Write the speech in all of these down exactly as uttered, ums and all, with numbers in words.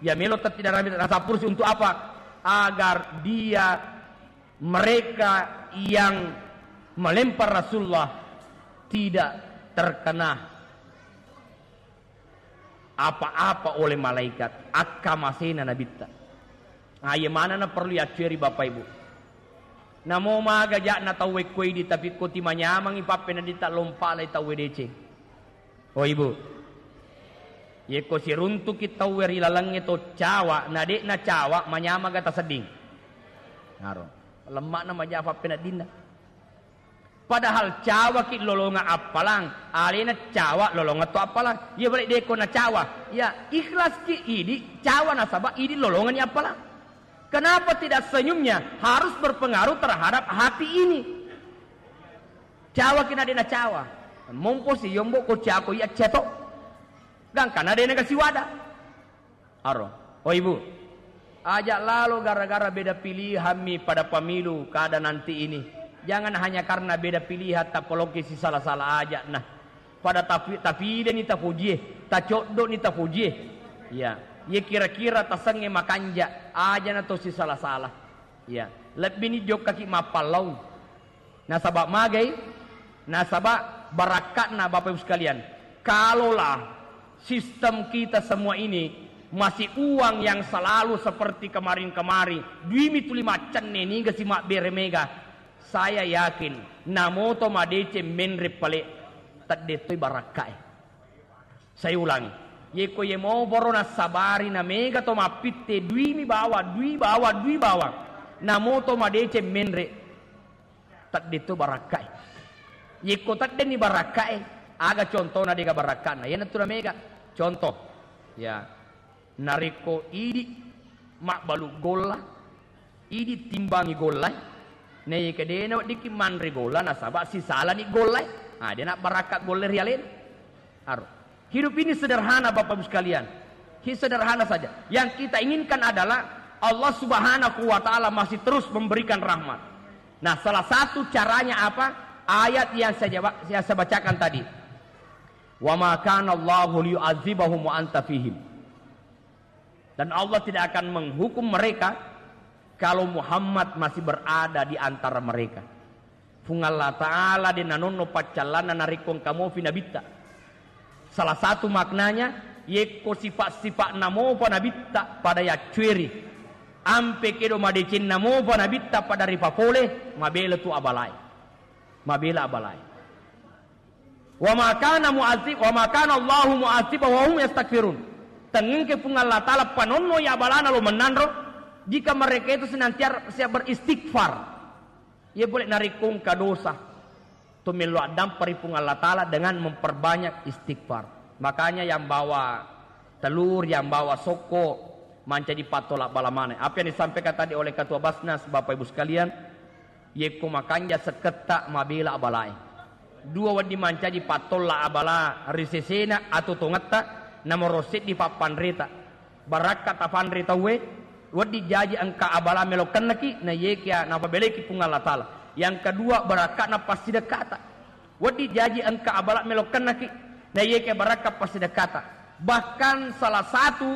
Iya melo tettidarami rasa pursi untuk apa? Agar dia, mereka yang melempar Rasulullah tidak terkena apa-apa oleh malaikat, akkamasena nabitta. Ah, iya manenna perlu yaccueri, Bapak Ibu. Namo maga ja'na tauwe ko idi, tapi ko timanyameng ipappeneddinta, lompa lai tauwe deceng. Oh, Ibu. Yekko siruntuki tauwe ri lalengnge to cawa, na de'na cawa, manyamaga tasedding. Naro. Lemma'na maja pappeneddinna. Padahal cawaki lolongeng appalang, alena cawa lolongeng to appalang. Iya balik deko na cawa. Ya, ikhlaski idi cawa nasaba idi lolongenni appalang. Kenapa tidak senyumnya harus berpengaruh terhadap hati ini? Cawaki na de na cawa. Mompo si yombo ko cako iya ceto. Gangkana de na kasiwada. Aro, oh Ibu, ajak lalo gara-gara beda pilihan mi pada pemilu kada nanti ini. Jangan hanya karena beda pilihan tapoloki si salah-salah ajak nah. Pada tapi, tapideni tapojie, tacoddo ni tapojie. Ya, ye kira-kira tasengnge makanja, aja na to si salah-salah. Ya, lebbi ni jokkaki mappallau. Nasaba magai? Nasaba barakka'na, Bapak Ibu sekalian. Kalaulah sistem kita semua ini masih uang yang selalu seperti kemarin-kemarin, duimi tuli maccenne niga si mabbere mega, saya yakin namoto madeceng menre pale, teddettoi barakkae. Saya ulangi, yeko ye moboro nassabari na mega to mappitte duimi bawa, dui bawa, dui bawa, namoto madeceng menre, teddettoi barakkae. Yekko teddenni barakkae, aga contona dega barakkana? Iyanatu na mega. Contoh, ya, narekko idi mabbalu golla, idi timbangi golla, na yeke dena weddikki manre golla nasaba sisalani golla, ah, dena barakka golla ri alena. Aro. Hidup ini sederhana, Bapak Ibu sekalian. Hi-, sederhana saja. Yang kita inginkan adalah Allah Subhanahu wa Ta'ala masih terus memberikan rahmat. Nah, salah satu caranya apa? Ayat yang saya jawab, yang saya bacakan tadi. "Wa ma kana Allahu liyu'adzibahum wa anta fihim." Dan Allah tidak akan menghukum mereka kalau Muhammad masih berada di antara mereka. Fung Allah Ta'ala de nanonno paccallanna narekko engka mofi nabitta. Salah satu maknanya, yekko sifat-sifat namopa nabitta pada yaccueri, ampe kedo madecenna mopa nabitta pada ripapole, mabela tu abalai. Mabela abalai. "Wa ma kana mu'adzib-, wa ma kana Allahu mu'adzibahum wa hum yastaghfirun." Tengngke Fung Allah Ta'ala panonno ya abalana lo mennanro, jika mereka itu senantiasa beristighfar. Iya boleh narekko engka dosa, to mello addampa ri Fung Allah Ta'ala dengan memperbanyak istighfar. Makanya yang bawa telur, yang bawa sokko, mancaji pattola bala maneng. Apa yang disampaikan tadi oleh Ketua Basnas, Bapak Ibu sekalian, yekko makanja sekketta mabela abalae. Dua wedding mancaji pattola abala ri sesena atau tongetta, nomoro seddi pappanreta. Barakka tapanre tauwe, wedding jaji engka abala melo kennaki, na yekia napabeleki Puang Allah Ta'ala. Yang kedua, barakka'na passidekkata. Wedding jaji engka abala melo kennaki, na yekia barakka passidekkata. Bahkan salah satu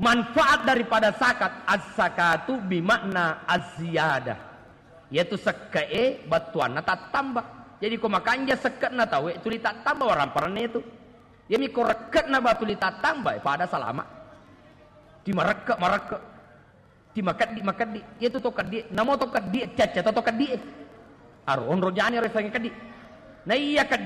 manfaat daripada zakat, az-zakatu bimakna az-ziyadah. Yaitu sekke'e battuanna tattamba. Jadi ko makanja sekke'na tauwe, tuli tattamba waramparanna itu. Iyami ko rekke'na ba tuli tattamba, pada salama. Ti marekke, marekke. Ti makeddi, makeddi. Iyatu to keddi, namo to keddi, cacca to, to keddi. Aro onro jani ro sange keddi. Na iya keddi